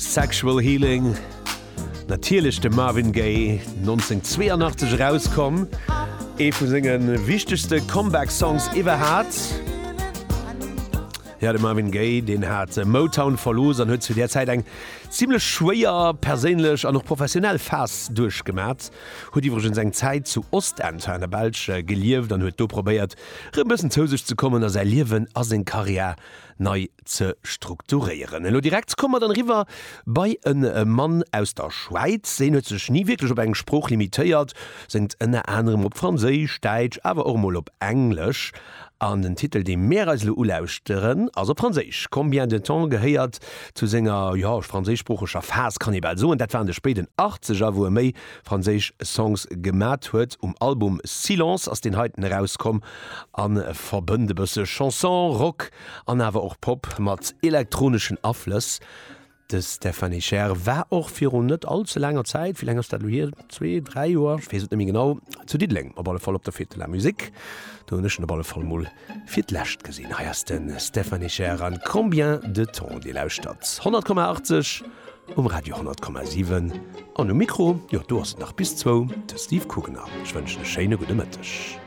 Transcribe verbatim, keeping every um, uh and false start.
Sexual Healing, natierlech de Marvin Gaye, nonzénhunnertzweeanachtzeg erauskomm, ee vu senge wichtegste Comeback-Songs iwwerhat. Jo, de Marvin Gaye, deen hat Motown verlooss an huet zu där Zäit eng zimmlech schwéier perséinlech an och professionell Phas duerchgemat. Huet iwwregens eng Zäit zu Ostend hei an der Belsch gelieft an huet do probéiert, rëm e bëssen zou sech ze kommen a säi Liewen a seng Karriär nei ze strukturéieren. Elo direkt komme mer dann eriwwer bei e Mann aus der Schwäiz. Deen huet sech ni wierklech op eng Sprooch limitéiert, séngt ënner anerem op Franséisch, Däitsch, awer och emol op Englesch. An den Titel, dee mär eis elo ulauschteren, ass op Franséisch. Combien de temps gehéiert zu senger, jo, franséischsproocheger Phas, kann ee bal soen. Dat war an de spéiden Achtzeger, wou e méi franséisch Songs gemat huet. Um Album Silence ass deen heiten erauskomm a verbënnt e bësse Chanson, Rock an awer och Pop mat elektroneschen Aflëss. De Stefan Escher war och virun net all ze laanger Zäit, wéi laang ass dat elo hier, zwee, dräi Joer, ech weess et net méi genau, zu Diddeleng op alle Fall op der Fête de la Musique. Do hunn ech en op alle Fall mol fir d'lescht gesinn. Hei ass de Stefan Escher an Combien de temps. Dir lauschtert honnert Komma achtzeg um Radio honnert Komma siwen an um Mikro, jo do ass et nach bis zwou, de Steve Kugener. Ech wënschen e schéine gudde Mëtteg.